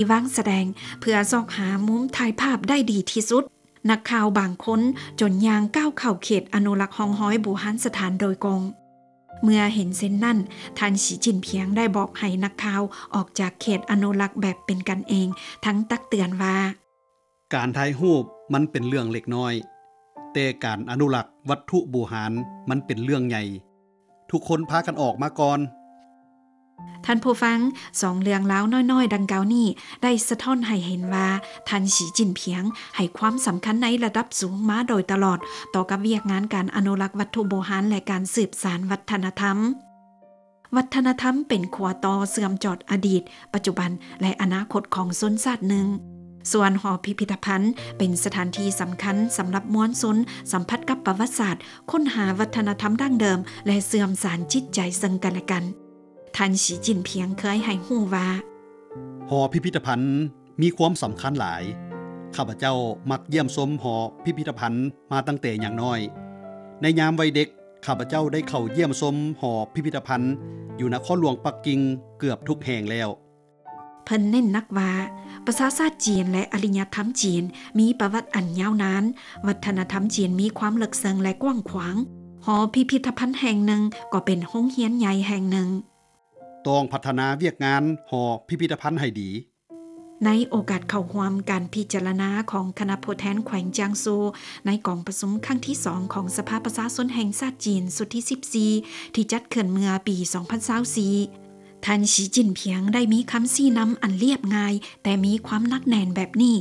ທີ່ວາງສະແດງ ເພື່ອຊອກຫາມຸມຖ່າຍພາບໄດ້ດີທີ່ສຸດ. ນັກຂ່າວບາງຄົນຈົນຍ່າງກ້າວເຂົ້າເຂດອະນຸລັກຮ່ອງຮອຍບູຮານສະຖານໂດຍກົງ. ເມື່ອເຫັນເຊັ່ນນັ້ນ, ທ່ານ ສີຈິ້ນພຽງ ໄດ້ບອກໃຫ້ນັກຂ່າວອອກຈາກເຂດອະນຸລັກແບບເປັນກັນເອງ, ທັງຕັກເຕືອນວ່າ: ການຖ່າຍຮູບມັນເປັນເລື່ອງເລັກນ້ອຍ, ແຕ່ການອະນຸລັກວັດຖຸບູຮານມັນເປັນເລື່ອງໃຫຍ່. ທຸກຄົນພາກັນອອກມາກ່ອນ. ທ່ານຜູ້ຟັງ, ສອງເລື່ອງລາວນ້ອຍໆດັ່ງກ່າວນີ້ ໄດ້ສະທ້ອນໃຫ້ເຫັນວ່າ ທ່ານ ສີຈິ້ນພຽງ ໃຫ້ຄວາມສຳຄັນໃນລະດັບສູງມາໂດຍຕະຫຼອດ ຕໍ່ກັບວຽກງານການອະນຸລັກວັດຖຸບູຮານ ແລະ ການສືບສານວັດທະນະທຳ. ວັດທະນະທຳເປັນຂົວຕໍ່ເຊື່ອມຈອດອະດີດ, ປັດຈຸບັນ ແລະ ອະນາຄົດຂອງຊົນຊາດໜຶ່ງ. ສ່ວນຫໍພິພິທະພັນເປັນສະຖານທີ່ສຳຄັນສຳລັບມວນຊົນສຳຜັດກັບປະຫວັດສາດ, ຄົ້ນຫາວັດທະນະທຳດັ້ງເດີມ ແລະ ເຊື່ອມສານຈິດໃຈເຊິ່ງກັນແລະກັນ. ທ່ານ ສີຈິ້ນພຽງ ເຄີຍໃຫ້ຮູ້ວ່າ: ຫໍພິພິທະພັນມີຄວາມສຳຄັນຫຼາຍ. ຂ້າພະເຈົ້າມັກຢ້ຽມຊົມຫໍພິພິທະພັນມາຕັ້ງແຕ່ຍັງນ້ອຍ. ໃນຍາມວັຍເດັກ, ຂ້າພະເຈົ້າໄດ້ເຂົ້າຢ້ຽມຊົມຫໍພິພິທະພັນຢູ່ນະຄອນຫຼວງປັກກິ່ງເກືອບທຸກແຫ່ງແລ້ວ. ເພິ່ນເນັ້ນໜັກວ່າ ປະຊາຊາດຈີນ ແລະ ອາລິຍະທຳຈີນ ມີປະຫວັດອັນຍາວນານ, ວັດທະນະທຳຈີນມີຄວາມເລິກເຊິ່ງ ແລະ ກວ້າງຂວາງ. ຫໍພິພິທະພັນແຫ່ງໜຶ່ງກໍເປັນໂຮງຮຽນໃຫຍ່ແຫ່ງໜຶ່ງ. ຕ້ອງພັດທະນາວຽກງານຫໍພິພິທະພັນໃຫ້ດີ. ໃນໂອກາດເຂົ້າຮ່ວມການພິຈາລະນາຂອງຄະນະຜູ້ແທນແຂວງຈາງຊູ ໃນກອງປະຊຸມຄັ້ງທີສອງຂອງສະພາປະຊາຊົນແຫ່ງຊາດຈີນຊຸດທີສິບສີ່ ທີ່ຈັດຂຶ້ນເມື່ອປີສອງພັນຊາວສີ່ ທ່ານ ສີຈິ້ນພຽງ ໄດ້ມີຄຳຊີ້ນຳອັນລຽບງ່າຍ ແຕ່ມີຄວາມໜັກແໜ້ນແບບນີ້,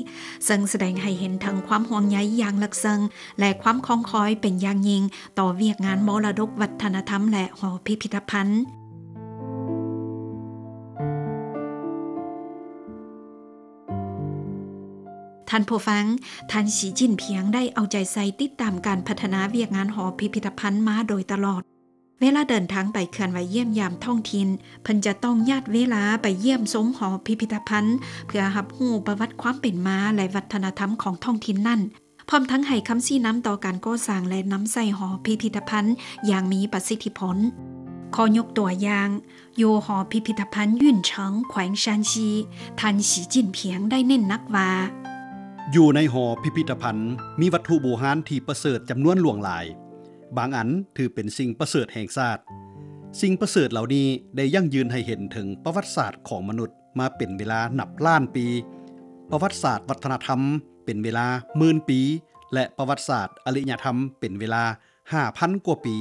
ເຊິ່ງສະແດງໃຫ້ເຫັນເຖິງຄວາມຫ່ວງໃຍຢ່າງເລິກເຊິ່ງ ແລະ ຄວາມຄອງຄອຍເປັນຢ່າງຍິ່ງຕໍ່ວຽກງານມໍລະດົກວັດທະນະທຳ ແລະ ຫໍພິພິທະພັນ. ທ່ານຜູ້ຟັງ, ທ່ານ ສີຈິ້ນພຽງ ໄດ້ເອົາໃຈໃສ່ຕິດຕາມການພັດທະນາວຽກງານຫໍພິພິທະພັນມາໂດຍຕະຫຼອດ. ເວລາເດີນທາງໄປເຄື່ອນໄຫວຢ້ຽມຢາມທ້ອງຖິ່ນ, ເພິ່ນຈະຕ້ອງຍາດເວລາໄປຢ້ຽມຊົມຫໍພິພິທະພັນ ເພື່ອຮັບຮູ້ປະຫວັດຄວາມເປັນມາ ແລະ ວັດທະນະທຳຂອງທ້ອງຖິ່ນນັ້ນ, ພ້ອມທັງໃຫ້ຄຳຊີ້ນຳຕໍ່ການກໍ່ສ້າງ ແລະ ນຳໃຊ້ຫໍພິພິທະພັນຢ່າງມີປະສິດທິຜົນ. ຂໍຍົກຕົວຢ່າງ, ຢູ່ຫໍພິພິທະພັນຫຍຸນເສີງ ແຂວງຊານຊີ, ທ່ານ ສີຈິ້ນພຽງ ໄດ້ເນັ້ນໜັກວ່າ: ຢູ່ໃນຫໍພິພິທະພັນ ມີວັດຖຸບູຮານທີ່ປະເສີດຈຳນວນຫຼວງຫຼາຍ. ບາງອັນຖືເປັນສິ່ງປະເສີດແຫ່ງຊາດ. ສິ່ງປະເສີດເຫຼົ່ານີ້ໄດ້ຢັ້ງຢືນໃຫ້ເຫັນເຖິງປະຫວັດສາດຂອງມະນຸດມາເປັນເວລານັບລ້ານປີ, ປະຫວັດສາດວັດທະນະທຳເປັນເວລາໝື່ນປີ ແລະ ປະຫວັດສາດອາລິຍະທຳເປັນເວລາຫ້າພັນກວ່າປີ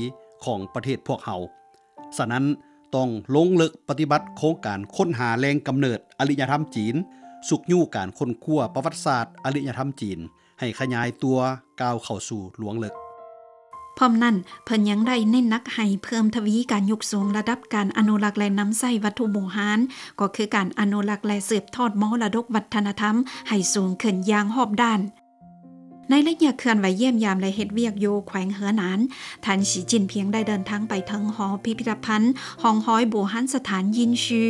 ຂອງປະເທດພວກເຮົາ. ສະນັ້ນ, ຕ້ອງລົງເລິກປະຕິບັດໂຄງການຄົ້ນຫາແຫຼ່ງກຳເນີດອາລິຍະທຳຈີນ, ຊຸກຍູ້ການຄົ້ນຄວ້າປະຫວັດສາດອາລິຍະທຳຈີນ ໃຫ້ຂະຫຍາຍຕົວກ້າວເຂົ້າສູ່ລວງເລິກ. ພ້ອມນັ້ນ, ເພິ່ນຍັງໄດ້ເນັ້ນໜັກໃຫ້ເພີ່ມທະວີການຍົກສູງລະດັບການອະນຸລັກ ແລະ ນຳໃຊ້ວັດຖຸບູຮານ, ກໍຄືການອະນຸລັກ ແລະ ສືບທອດມໍລະດົກວັດທະນະທຳໃຫ້ສູງຂຶ້ນຢ່າງຮອບດ້ານ. ໃນໄລຍະເຄື່ອນໄຫວຢ້ຽມຢາມ ແລະ ເຮັດວຽກຢູ່ແຂວງເຮີໜານ, ທ່ານ ສີຈິ້ນພຽງ ໄດ້ເດີນທາງໄປເຖິງຫໍພິພິທະພັນຮ່ອງຮອຍບູຮານສະຖານຢິນຊີ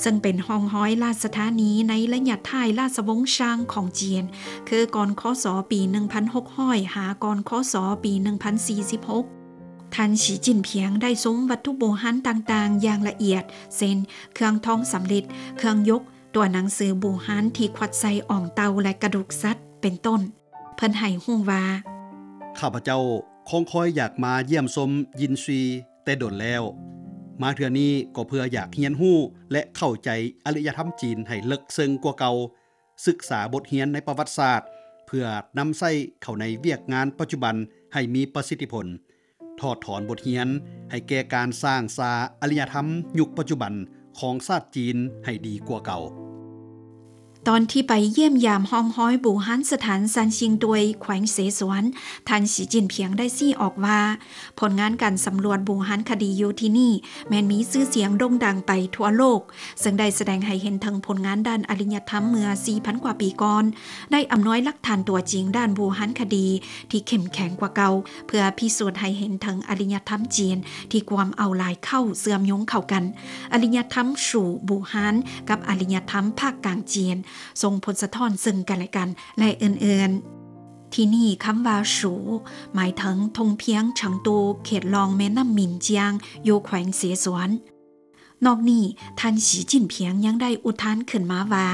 ເຊິ່ງເປັນຮ່ອງຮອຍລາຊະທານີໃນໄລຍະທ້າຍລາຊະວົງຊາງຂອງຈີນ, ຄືກ່ອນ ຄ.ສ. ປີໜຶ່ງພັນຫົກຮ້ອຍ ຫາ ກ່ອນ ຄ.ສ. ປີໜຶ່ງພັນສີ່ສິບຫົກ. ທ່ານ ສີຈິ້ນພຽງ ໄດ້ຊົມວັດຖຸບູຮານຕ່າງໆຢ່າງລະອຽດ, ເຊັ່ນ ເຄື່ອງທອງສຳລິດ, ເຄື່ອງຍົກ, ຕົວໜັງສືບູຮານທີ່ຂວັດໃສ່ອອງເຕົ່າ ແລະ ກະດູກສັດ ເປັນຕົ້ນ. ເພິ່ນໃຫ້ຮູ້ວ່າ: ຂ້າພະເຈົ້າຄອງຄອຍຢາກມາຢ້ຽມຊົມຢິນຊີແຕ່ດົນແລ້ວ. ມາເທື່ອນີ້ກໍເພື່ອຢາກຮຽນຮູ້ ແລະ ເຂົ້າໃຈອາລິຍະທຳຈີນໃຫ້ເລິກເຊິ່ງກວ່າເກົ່າ, ສຶກສາບົດຮຽນໃນປະຫວັດສາດ ເພື່ອນຳໃຊ້ເຂົ້າໃນວຽກງານປັດຈຸບັນໃຫ້ມີປະສິດທິຜົນ. ຖອດຖອນບົດຮຽນໃຫ້ແກ່ການສ້າງສາອາລິຍະທຳຍຸກປັດຈຸບັນຂອງຊາດຈີນໃຫ້ດີກວ່າເກົ່າ. ຕອນທີ່ໄປຢ້ຽມຢາມຮ່ອງຮອຍບູຮານສະຖານຊານຊິງຕວຍ ແຂວງເສສວນ, ທ່ານ ສີຈິ້ນພຽງ ໄດ້ຊີ້ອອກວ່າ ຜົນງານການສຳຫຼວດບູຮານຄະດີຢູ່ທີ່ນີ້ ແມ່ນມີຊື່ສຽງໂດ່ງດັງໄປທົ່ວໂລກ, ເຊິ່ງໄດ້ສະແດງໃຫ້ເຫັນເຖິງຜົນງານດ້ານອາລິຍະທຳເມື່ອສີ່ພັນກວ່າປີກ່ອນ, ໄດ້ອຳນວຍຫຼັກຖານຕົວຈິງດ້ານບູຮານຄະດີທີ່ເຂັ້ມແຂງກວ່າເກົ່າ, ເພື່ອພິສູດໃຫ້ເຫັນເຖິງອາລິຍະທຳຈີນທີ່ກວມເອົາຫຼາຍເຄົ້າເຊື່ອມໂຍງເຂົ້າກັນ, ອາລິຍະທຳຊູບູຮານກັບອາລິຍະທຳພາກກາງຈີນ, ສົ່ງຜົນສະທ້ອນເຊິ່ງກັນແລະກັນ ແລະ ອື່ນໆ. ທີ່ນີ້ຄຳວ່າຊູ ໝາຍເຖິງທົ່ງພຽງເຊິງຕູ ເຂດລ່ອງແມ່ນ້ຳໝິນຈຽງ ຢູ່ແຂວງເສສວນ. ນອກນີ້, ທ່ານ ສີຈິ້ນພຽງ ຍັງໄດ້ອຸທານຂຶ້ນມາວ່າ: